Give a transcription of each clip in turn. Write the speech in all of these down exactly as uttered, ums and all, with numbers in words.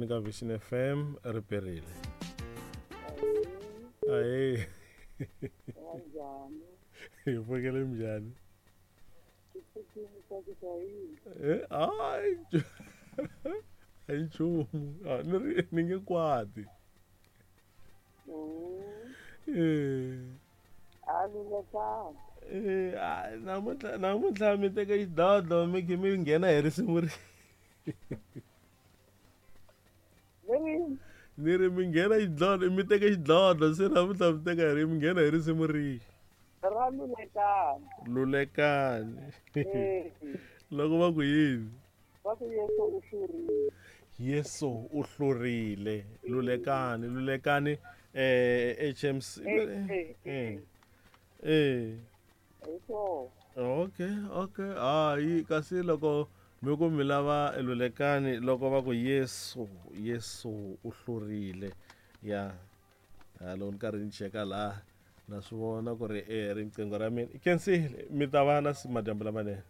moyeni ka Vision F M ri perile. Ahee. Hi pfukile njhani? Eh, ai. A hi nchumu. A ni ri ni nge kwati. Eh. Eh, a namuntlha namuntlha mi teka xidlodlo mi khe mi nghena hi risimu ri. Ni ri mi nghena xidlodlo mi teka xidlodlo se namuntlha mi teka hi ri mi nghena hi risimu rihi? Ra Lulekani. Lulekani. Loko va ku yini? Va ku Yesu u hlurile. Yesu u hlurile. Lulekani, Lulekani eh H M C. Eh. Eh. Okay, okay. Hayi kasi loko mi ku mi lava Lulekani loko va ku Yesu, Yesu u hlurile. Ya. Ha loko ni karhi ni cheka laha na swi vona ku ri eh riqingho ra mina. Khensile mi ta va na madyambu lamanene.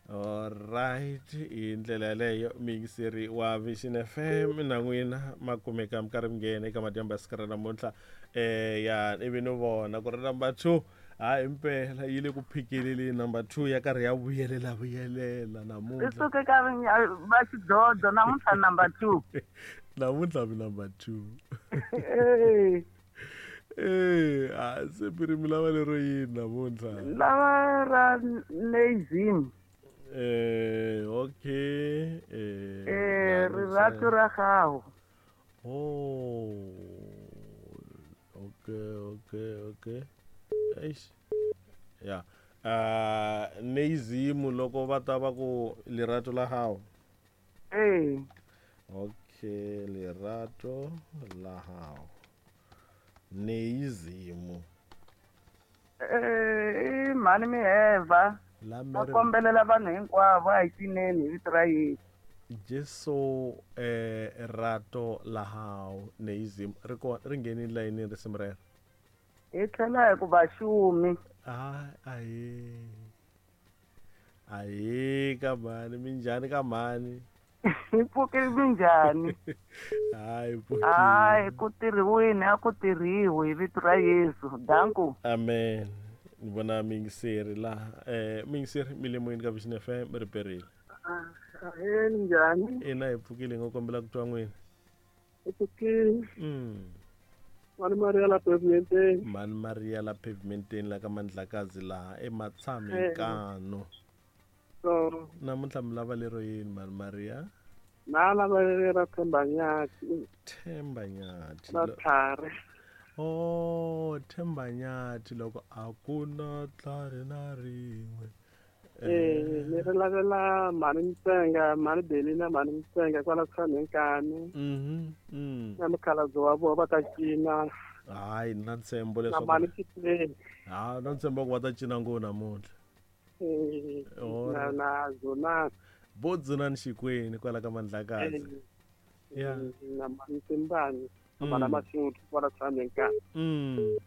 All right, hi ndlela yaleyo miyingiseri wa Vision F M na n'wina ma kumeka mi karhi mi nghena eka madyambu ya siku ra namuntlha. Eh ya ivi ni vona ku ri number two ha impela yi le ku phikeleleni number two ya karhi ya vuyelela vuyelela namuntlha. I suke ka va xidlodlo namuntlha number two. Namuntlha mi number two. Eh, a se piri mi lava lero yini namuntlha? Lava ra Neizim. Eh, okay. Eh, eh rirato ra gago. Oh. Okay, okay, okay. Eish. Ya. Ah, Neizim loko va ta va ku lerato la gago. Eh. Okay, lerato la gago. Neizimu. Eh, mhani Miheva. Va kombelela vanhu hinkwavo a hi cineni hi vito ra Yesu. Jesu eh rato la hao Neizimu ri kona ri nghenile layinini risimu rero. Hi tlhela hi ku vaxumi. Ah, ahe. Ahe ka mhani minjhani ka mhani? Hi pfukile minjhani? Hayi pfukile. Hayi ku tirhiwini a ku tirhiwi hi vito ra Yesu. Danku. Amen. Ni vona miyingiseri laha. Eh miyingiseri mi le moyeni ka Vision F M ri perile. Ahee minjhani? Ina hi pfukile ngo kombela ku twa n'wina. Hi pfukile. Mm. Mhani Maria la pavementeni. Mhani Maria la pavementeni la ka Mandlakazi laha eMatshamikano. So namuntlha mi lava lero yini Mhani Maria? Na lava ra Themba Nyathi. Themba Nyathi. Na tlhari. Oh, Themba Nyathi loko a ku na tlhari na rin'we. Eh, ni ri lavela mhani Mtsenga, mhani Belina, mhani Mtsenga kwala Tshanenkani. Mhm. Mm. Na mukhalabye wa vona va ta cina. Hayi na ntshembo leswaku. Na mhani Chipleni. Ha, na ntshembo ku va ta cina ngopfu namuntlha. Eh, na na Zonani. Bo Dzunani Xikweni kwala ka Mandlakazi. Ya. Na mhani Timbani, na Masuthu kwala Tshanenkani. Mm.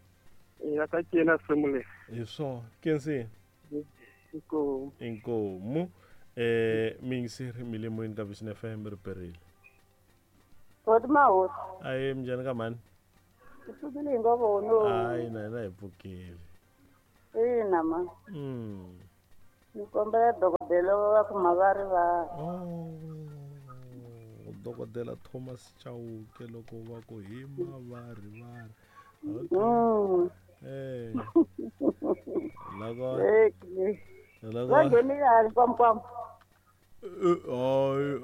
Eh, va ta cina risimu leri. Hi swona. Khensile. Inkomu. Inkomu. Eh miyingiseri mi le moyeni ka Vision F M ri perile. Hoti mahosi. Ahe minjhani ka mhani? Hi pfukile hi ngo vona. Hayi na hina hi pfukile. Ina ma. Mm. Ni kombela dokodela va ku mavarivari. Oh. Dokodela Thomas Chauke loko va ku hi mavarivari. Okay. Mm. Eh. Loko Eh. Loko Va nghenile hali kwamkwam. Hayi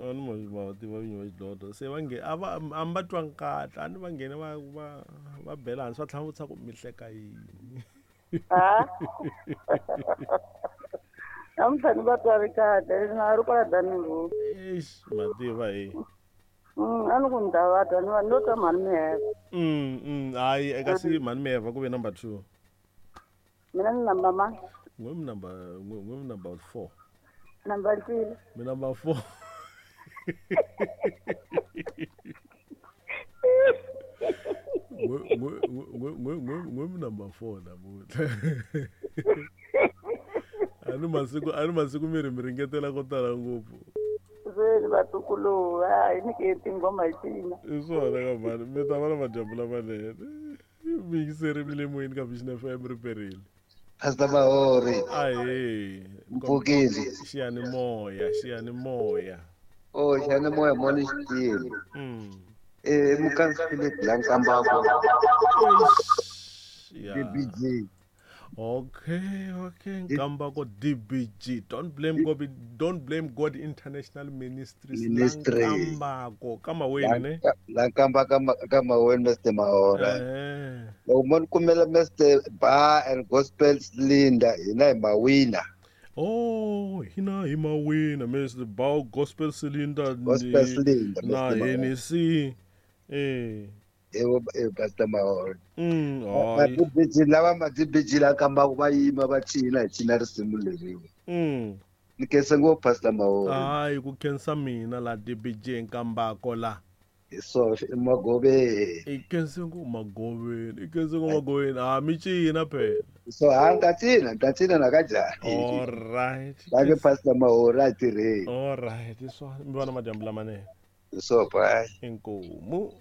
a ni ma tiva vinyi va xidlodlo se va nge a va a mi va twangi kahle a ni va nghene va va va bela hansi va tlhela va vutisa ku mi hleka yini. Ha? Namuntlha ni va twa ri kahle na ri kwala Diamond Road. Eish ma tiva hi. Mm, a ni ku ni ta va twa ni va ni lo twa mhani Miheva. Mm, mm, hayi eka si mhani Miheva ku ve number two. Mina ni number mani? N'we mi number n'we mi number four. Number three. Mi number four. N'we n'we n'we mi number four namuntlha. A ni masiku a ni masiku mi ri mi ringetela ko tala ngopfu. Tirhweni vatukulu, a hi nyike tinghoma hi cina. I swona ka mhani, mi ta va na madyambu lamanene. Miyingiseri mi le moyeni ka Vision F M ri perile. Pastor Mahori. Ahee. Mpfukile. Xiyanimoya, xiyanimoya. Oh, xiyanimoya moni xitile. Mm. Eh, Mukansi Philip la Nkambako. Yeah. D B G. Okay, okay. Nkambako D B G. Don't blame God, don't blame God International Ministries. Ministry. Nkambako kama wena ne? La Nkambako kama wena Mister Mahora. Eh. Loko mo kumela Mister Bar and Gospel Cylinder hina hi mawina. Oh, hina hi mawina Mister Bar Gospel Cylinder. Gospel Cylinder na N C. Eh. Ewo e Pastor Mahora. Mm, Ma D B G lava ma D B G la Nkambako va yima va cina hi cina risimu leriwa. Mm. Ni khensa ngopfu Pastor Mahora. Hayi ku khensa mina la D B G Nkambako la. Hi swona i Magoveni. I khense ngopfu Magoveni, i khense ngopfu Magoveni. Ah, mi cina phela. So ha ta cina, ta cina na ka njhani? All right. Va ke Pastor Mahora a tirheni. All right, hi swona. Mi vona madyambu lamanene. Hi swona bye. Inkomu.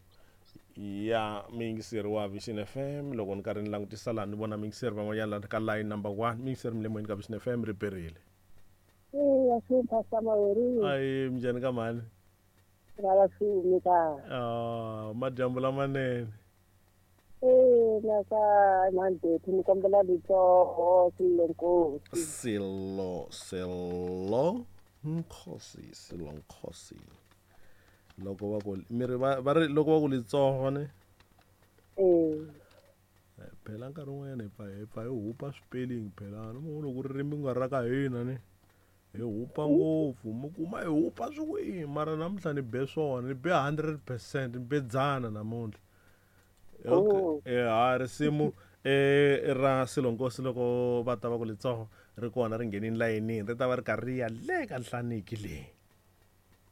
Ya miyingiseri wa Vision F M loko ni karhi ni langutisa laha ni vona miyingiseri van'wanyana laha ka line number one miyingiseri mi le moyeni ka Vision F M ri perile. Eh, ya Pastor Mahori. Ayi minjhani ka mhani? Ra swi ka. Ah, madyambu lamanene. Eh, na ka mandeti ni kombela litsoho Silo Nkosi. Silo, Silo Nkosi, Silo Nkosi. Loko va ku mi ri va ri loko va ku litsoho ne? Eh. Phela nkarhi wun'wanyana hi pfa hi pfa hi hupa swipelling phela no loko ririmi ku nga ra ka hina ne hi hupa ngopfu mi kuma hi hupa swi mara namuntlha ni be swona ni be hundred percent ni be dzana namuntlha. Okay. Eh ha risimu eh ra Silo Nkosi loko va ta va ku litsoho ri kona ri nghenini layinini ri ta va ri karhi ri ya le ka nhlaniki leyi.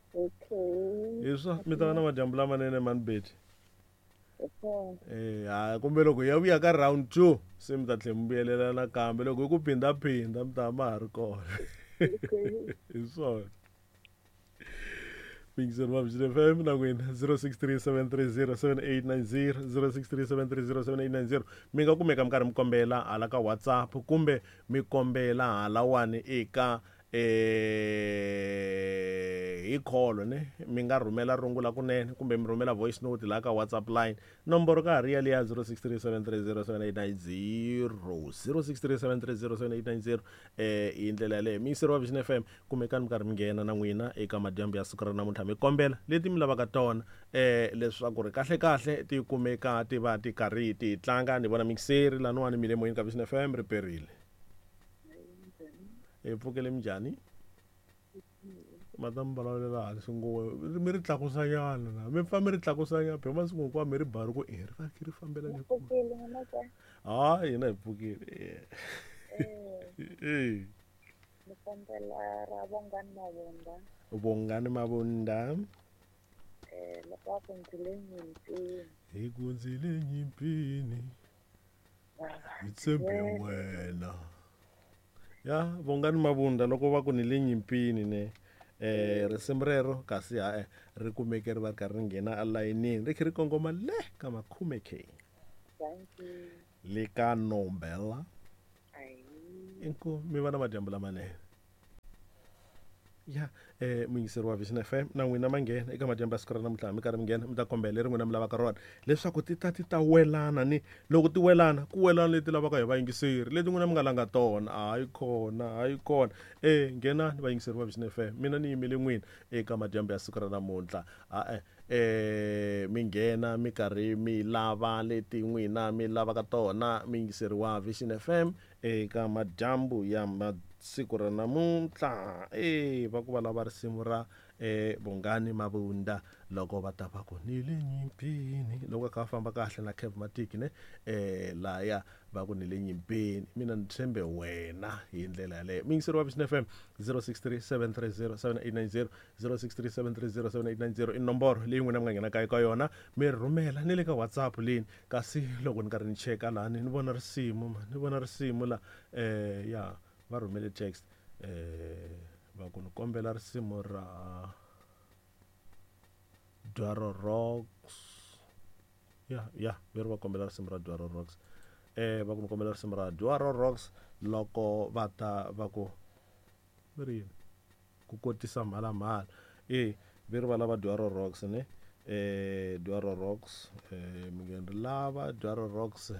Okay. Hi swa mi ta va na madyambu lamanene mani Betty. Eh ha kumbe loko ya vuya ka round two se mi ta tlhela mi vuyelela nakambe loko hi ku phindaphinda mi ta ma ha ri kona. Hi swona. Miyingiseri wa Vision F M na n'wina zero six three seven three zero seven eight nine zero zero six three seven three zero seven eight nine zero mi nga kumeka mi karhi mi kombela hala ka WhatsApp kumbe mi kombela halawani eka eh hi call ne mi nga rhumela rungula kunene kumbe mi rhumela voice note la ka WhatsApp line nomboro ka ha ri yaliya zero six three seven three zero seven eight nine zero zero six three seven three zero seven eight nine zero eh hi ndlela yaleyo miyingiseri wa Vision F M kumekani mi karhi mi nghena na n'wina eka madyambu ya siku ra namuntlha mi kombela leti mi lavaka tona eh leswaku ri kahle kahle ti kumeka ti va ti karhi ti tlanga ni vona miyingiseri laniwani mi le moyeni ka Vision F M ri perile. E pfukele minjhani? Madam vulavula hansi ngopfu mi ri tlakusanyana na mi pfa mi ri tlakusanyana phela masiku hinkwawo mi ri ba ri ku e ri va ri fambela le Pfukile n'wana ka. Ha hina hi pfukile. Eh. Ni kombela ra Bongani Mabunda. Bongani Mabunda. Eh, loko va ku ndzi le nyimpini. Hi ku ndzi le nyimpini. Hi tshembe wena. Ya Bongani Mabunda loko va ku ni le nyimpini ne eh risimu rero kasi ha ri kumeke ri va ri karhi ri nghena alayinini ri kha ri kongoma le ka makhume K. Thank you. Le ka Nombela. Ayi. Inkomu mi va na madyambu lamanene. Ya eh muyingiseri wa Vision F M na n'wina ma nghena eka madyambu ya siku ra namuntlha mi karhi mi nghena mi ta kombela leri n'wina mi lavaka rona leswaku ti ta ti ta welana ni loko ti welana ku welana leti lavaka hi vayingiseri leti n'wina mi nga langa tona hayi kona hayi kona eh nghenani vayingiseri va Vision F M mina ni yimele n'wina eka madyambu ya siku ra namuntlha a eh mi nghena mi karhi mi lava leti n'wina mi lavaka tona muyingiseri wa Vision F M eka madyambu ya siku ra namuntlha eh va ku va lava risimu ra eh Bongani Mabunda loko va ta va ku ni le nyimpini loko ka famba kahle na Kev Matic ne eh laya va ku ni le nyimpini mina ni tshembe wena hi ndlela yaleyo miyingiseri wa Vision F M zero six three seven three zero seven eight nine zero zero six three seven three zero seven eight nine zero i nomboro leyi n'wina mi nga nghena ka eka yona mi rhumela ni le ka WhatsApp leyi kasi loko ni karhi ni cheka lani ni vona risimu ni vona risimu la eh ya va rhumele text eh va ku ni kombela risimu ra Dwaro Rocks. Ya ya ve ri va kombela risimu ra Dwaro Rocks. Eh va ku mi kombela risimu ra Dwaro Rocks loko va ta va ku ve ri yini ku kotisa mhalamhala. E ve ri va lava Dwaro Rocks ne eh Dwaro Rocks eh mi nge ri lava Dwaro Rocks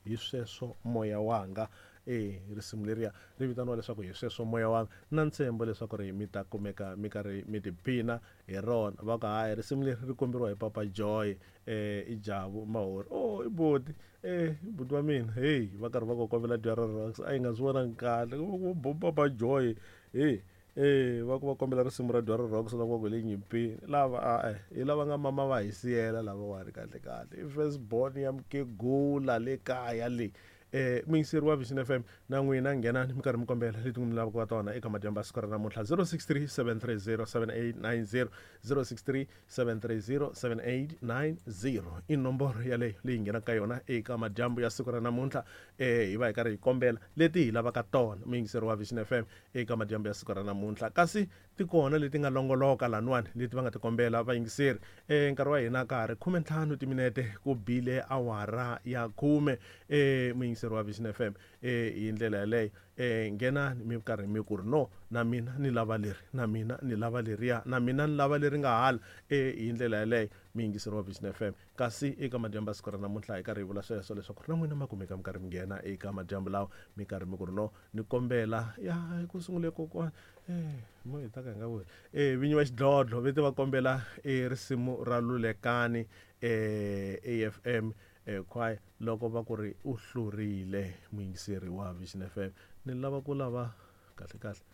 hi sweswo moya wanga. E risimu leriya ri vitaniwa leswaku hi sweswo moya wanga na ntshembo leswaku ri mi ta kumeka mi karhi mi tiphina hi rona. Va ku hayi risimu leri ri komberiwa hi Papa Joy eh i Jabu Mahori. Oh i boti eh buti wa mina hey va karhi va ku kombela Dwaro Rocks a yi nga swi vonangi kahle ku Papa Joy hey eh va ku va kombela risimu ra Dwaro Rocks loko va ku le nyimpini lava a eh hi lava nga mama va hi siyela lavawani kahle kahle i first born ya mukegula le kaya le. Eh muyingiseri wa Vision F M na n'wina nghenani mi karhi mi kombela leti mi lavaka tona eka madyambu ya siku ra namuntlha zero six three seven three zero seven eight nine zero zero six three seven three zero seven eight nine zero i nomboro yaleyo leyi nghenaka ka yona eka madyambu ya siku ra namuntlha. Eh hi va hi karhi hi kombela leti hi lavaka tona muyingiseri wa Vision F M eka madyambu ya siku ra namuntlha. Kasi ti kona leti nga longoloka laniwani leti va nga ti kombela vayingiseri. Eh nkarhi wa hina ka ha ri khume ntlhanu timinete ku bile awara ya khume. Eh muyingiseri wa Vision F M eh hi ndlela yaleyo eh nghenani mi karhi mi ku ri no na mina ni lava leri na mina ni lava leriya na mina ni lava leri nga hala. Eh hi ndlela yaleyo muyingiseri wa Vision F M. Kasi eka madyambu ya siku ra namuntlha hi karhi hi vula sweswo leswaku na n'wina ma kumeka mi karhi mi nghena eka madyambu lawa mi karhi mi ku ri no ni kombela ya ku sungule kokwana eh mo hi ta ka hi nga vuli eh vinyi va xidlodlo ve te va kombela e risimu ra Lulekani eh A F M eh choir loko va ku ri u hlurile muyingiseri wa Vision F M. Ni lava ku lava kahle kahle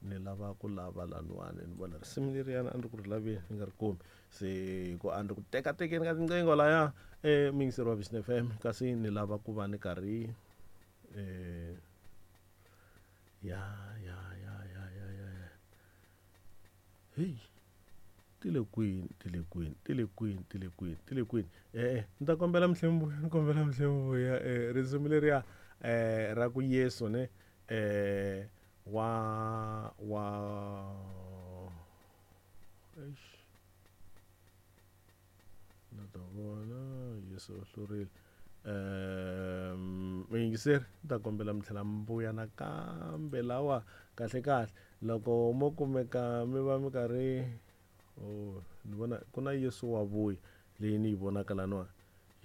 ni lava ku lava laniwani ni vona risimu leriyana a ni ri ku ri laveni ni nga ri kumi se ku a ni ri ku tekatekeni ka tinqingho laya eh muyingiseri wa Vision F M. Kasi ni lava ku va ni karhi eh ya ya ya ya ya ya hey ti le kwini ti le kwini ti le kwini ti le kwini ti le kwini eh ni ta kombela mihlembuya ni kombela mihlembuya eh risimu leriya eh ra ku Yesu ne eh wa wa eish na ta vona Yesu u hlurile. Eh muyingiseri ni ta kombela mi tlhela mi vuya nakambe lawa kahle kahle loko mo kumeka mi va mi karhi oh ni vona ku na Yesu wa vuya leyi ni yi vonaka laniwani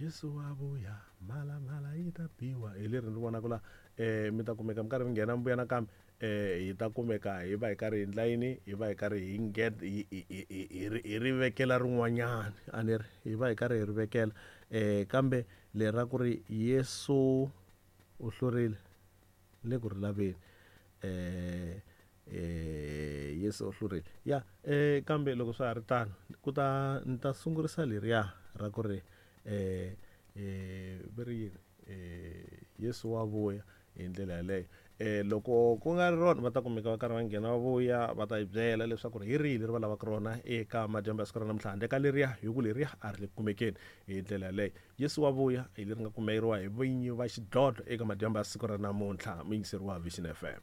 Yesu wa vuya mhalamhala yi ta biwa hi leri ni vonaka la eh mi ta kumeka mi karhi mi nghena mi vuya nakambe eh hi ta kumeka hi va hi karhi hi endla yini hi va hi karhi hi nget hi hi ri vekela rin'wanyana a ni ri hi va hi karhi hi ri vekela eh kambe leri ra ku ri Yesu u hlurile le ku ri laveni eh eh Yesu u hlurile ya eh kambe loko swa ha ri tano ku ta ni ta sungurisa leriya ra ku ri eh eh ve ri yini eh Yesu wa vuya hi ndlela yaleyo. Eh loko ku nga ri rona va ta kumeka va karhi va nghena va vuya va ta hi byela leswaku ri hi rihi leri va lavaka rona eka madyambu ya siku ra namuntlha handle ka leriya hi ku leriya a ri le ku kumekeni hi ndlela yaleyo. Yesu wa vuya hi leri nga kumeriwa hi vinyi va xidlodlo eka madyambu ya siku ra namuntlha muyingiseri wa Vision F M.